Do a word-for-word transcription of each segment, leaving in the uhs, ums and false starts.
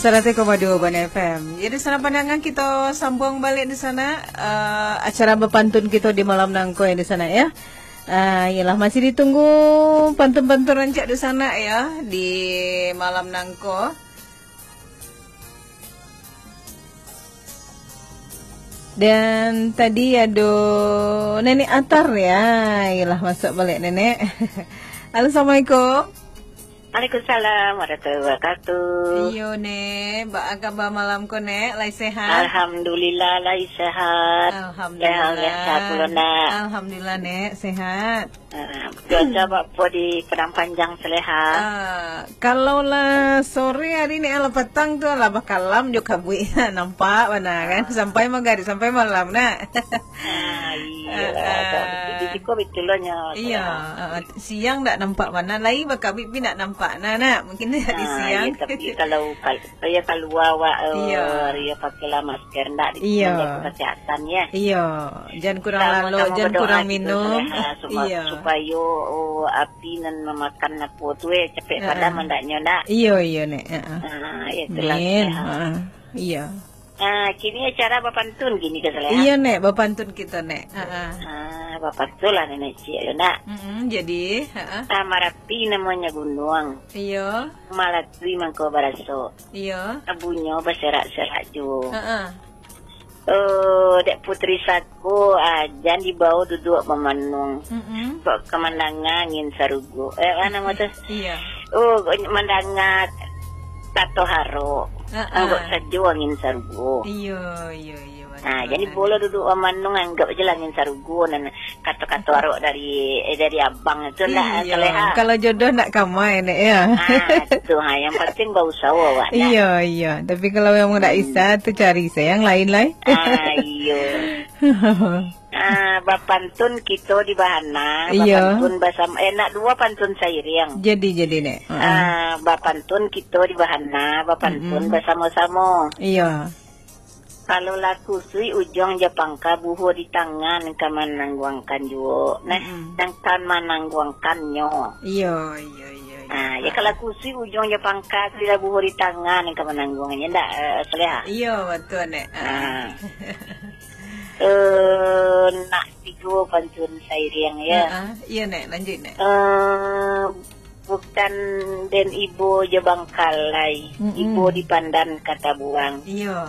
Saratus koma duo Bana F M. Jadi, sanak pandangar, kita sambung balik di sana, eh, acara bapantun kita di malam nangko ya di sana ya. Ah, iyalah, masih ditunggu pantun-pantun rancak di sana ya di malam nangko. Dan tadi ado Nenek Atar ya. Iyalah, masuk balik Nenek. Halo, assalamualaikum. Waalaikumsalam warahmatullahi wabarakatuh. Iyo, Nek. Baa kaba malam ko, Nek? Lai sehat? Alhamdulillah, lai sehat. Alhamdulillah. Sehat, sehat pulo, Nak. Alhamdulillah, Nek. Sehat. Ah, cuaca bak apo di Padang Panjang, Saleha? Ah, kalau lah sore hari ni, lah patang tu lah bakalam jo kabuik. Nampak bana kan? Ah. Sampai magarib, sampai malam, Nak. Ah, iyo. Ah, ah. Di, di siko betul lah nyo, Iyo, Saleha. Ah, ah. Siang ndak nampak bana, lai bakabuik pun ndak nampak. Nah, Nak, mungkin di Ah, siang. Iyo, tapi kalau, kal-, iyo, kalua awak, eh, Iyo. iyo, pakailah masker, ndak di, Iyo. menjaga kesehatan, ya. Iyo, jan kurang Samo-samo lalok, jan berdoa kurang gitu, minum. Saleha, supa-, Iyo. supayo, oh, api nan mamakan apo tu, eh, capek Heeh. padam andaknyo, ndak? Iyo, iyo, Nek. Heeh. Ah, itulah, Amin. Saleha. Heeh. Iyo. Ah, kini acara bapantun kini ka, Saleha? Iyo, Nek, bapantun kito, Nek. Heeh. Ah, bapantun lah, Nenek Ciek, yo, ndak? Mm-mm, jadi, heeh. Ah, Marapi namonyo gunuang. Iyo. Malatui mangko baraso. Iyo. Abunyo baserak-serak juo. Heeh. Oh, dek Putri Sago, ah, jan dibao duduak mamanuang. Mm-mm. Kok ka mandanga angin sarugo. Eh, apo namo tu? Iyo. Oh, kok mandanga kato haro. Heeh. Anggok sajo angin sarugo. Iyo, iyo, iyo, Ah, batua. Jadi bolo duduak mamanuang, anggok ajo lah angin sarugo, nan kato-kato arok dari, eh, dari abang tu lah, Iyo. Saleha. Kalau jodoh ndak kamai, Nek, ya. Ah, tu, ha, yang penting bausaho awak, Nak. Iyo, iyo. Tapi kalau memang ndak Hmm. bisa, tu cari se yang lain lai. Ah, iyo. Ah, bapantun kito di bahana, Iyo. bapantun basamo, eh, nak duo pantun sairiang. Jadi, jadi, Nek. Heeh. Ah, bapantun kito di bahana, bapantun Mm-mm. basamo-samo. Iyo. Kalau lah kusuik ujuang jo pangka, buho di tangan ka manangguangkan juo. Nah, Mm-mm. nan ka manangguangkannyo. Iyo, iyo, iyo, iyo. Ah, ya, kalau kusuik ujuang jo pangka, tu lah buho di tangan ka manangguangnyo, ndak, eh, Saleha? Iyo, batua, Nek. Ah. Eh, nak tigo pantun sairiang, ya. Heeh. Iyo, Nek, lanjuik, Nek. Eh, bukan den ibo jo bangkalai, Mm-mm. ibo di pandan ka tabuang. Iyo.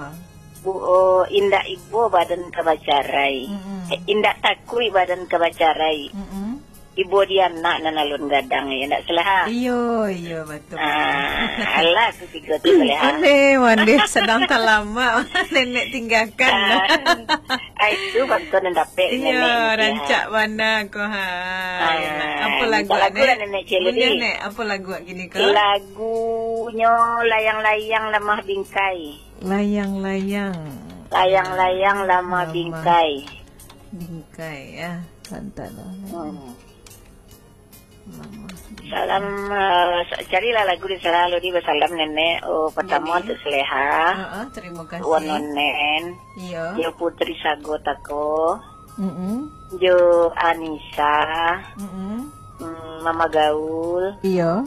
Bu-, oh, indak ibo badan ka bacarai. Mm-mm. Eh, indak takuik badan ka bacarai. Mm-mm. Ibo di anak nan alun gadang, ya, ndak Saleha? Iyo, iyo, batua. Ah, alah, tu tigo tu, Saleha. Mandeh, mandeh, sadang talamak, Nenek tinggakan. Ah, ah, itu bantuan nan dapek Iyo, Nenek ni, rancak ha. bana ko, ha. Ah, Apo lagu, minta lagu Nek? lah, Nenek Cik Ludi. Buliah, Nek. Apo lagu kini ko? Lagunyo Layang-Layang Lamah Bingkai. Layang-layang. Layang-layang Lamah Lamah Bingkai. Bingkai, ya. Santai lah, Nek. Hmm. Lamah Bingkai. Salam, eh, sa-, carilah lagu di Saleha Ludi basalam, Nenek. Oh, pertama Jadi, untuk Saleha. Heeh, terima kasih. Wan Nonen. Iyo. Jo Putri Sago Tako. Mm-mm. Jo Anisa. Mm-mm. Mm, Mama Gaul. Iyo.